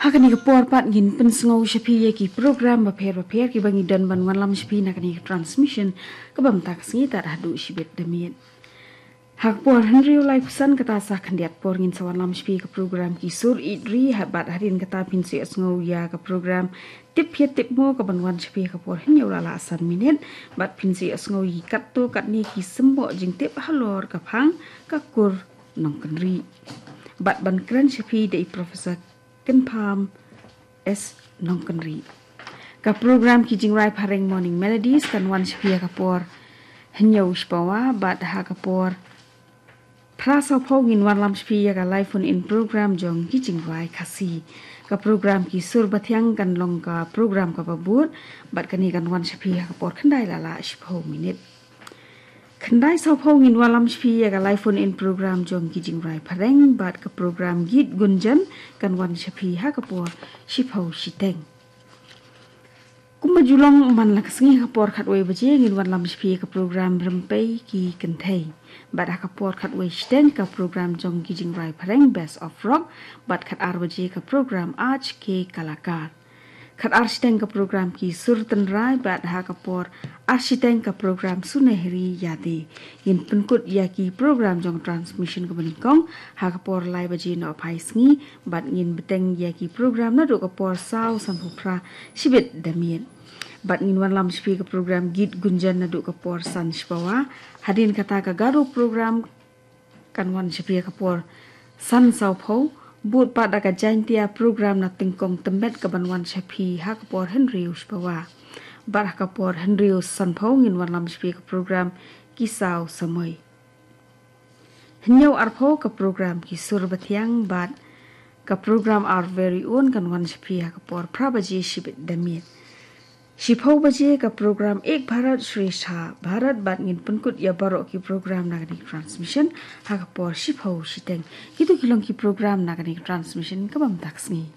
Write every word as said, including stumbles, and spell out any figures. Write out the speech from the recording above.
Ha kane ka por pat ngin pynsngew sha phi ïa ki program bapher bapher kiba ngi don ban wanlam sha phi na kane ka transmission kaba mynta ka sngi tad haduh shibit da miet. Ha ka por hynriew laiphew san, kata sa khyndiat por ngin sa wanlam sha phi ka program Ki Sur Ïeit Ri, ha bad hadien kata phin sa ïohsngew ïa ka program Tip Phet Tip Mo kaban wan sha phi ha ka por hynñiew la lah san minit, bad phin sa ïohsngew ïa ki katto katne ki symboh jingtip halor ka phang Ka Kur Nongkynrih, bad ban kren sha phi da i Professor Kynpham S Nongkynrih. Ka program Ki Jingrwai Phareng Morning Melodies kan wan sha phi ha ka por hynñiew shipawa, bad ha ka por phra sawphew ngin wanlam sha phi ïa ka live phone in program jong Ki Jingrwai Khasi. Ka program Ki Sur Bathiang kan long ka program kaba bud, bad kane kan wan sha phi ha ka por khyndai la lah shiphew minit. Khyndai sawphew ngin wanlam sha phi ïa ka live phone in program jong Ki Jingrwai Phareng, bad ka program Geet Gunjan kan wan sha phi ha ka por shiphew shiteng. Kumba ju long man la ka sngi, ha ka por khatwei baje ngin wanlam sha phi ïa ka program Rympei Ki Kynthei, bad ha ka por khatwei shiteng ka program jong Ki Jingrwai Phareng Best of Rock, bad khatar baje ka program Aaj Ke Kalakar. Khatar shiteng ka program Ki Sur Tynrai, bad ha ka por ar shiteng ka program Sunehri Yaadein. Ngin pynkut ïa ki program jong transmission kaba nyngkong ha ka por lai baje nohphai sngi, bad ngin bteng ïa ki program naduh ka por saw sanphew phra shibit da miet. Bad ngin wanlam sha phi ka program Geet Gunjan naduh ka por san shipawa. Hadien kata ka Garo program kan wan sha phi ha ka por san sawphew, bud pat da ka Jaintia program na Tyngkong Tymmet kaban wan sha phi ha ka por hynriew shipawa. Bad ha ka por hynriew sanphew ngin wanlam sha phi ka program Ki Saw Samoi. Hynñiew arphew ka program Ki Sur Bathiang, bad ka program Our Very Own kan wan sha phi ha ka por phra baje shibit da miet. Shiphew baje ka program Ek Bharat Shreshtha Bharat, bad ngin pynkut ïa baroh ki program na kane ka transmission ha ka por shiphew shiteng. Kito ki long ki program na kane ka transmission kaba mynta ka sngi.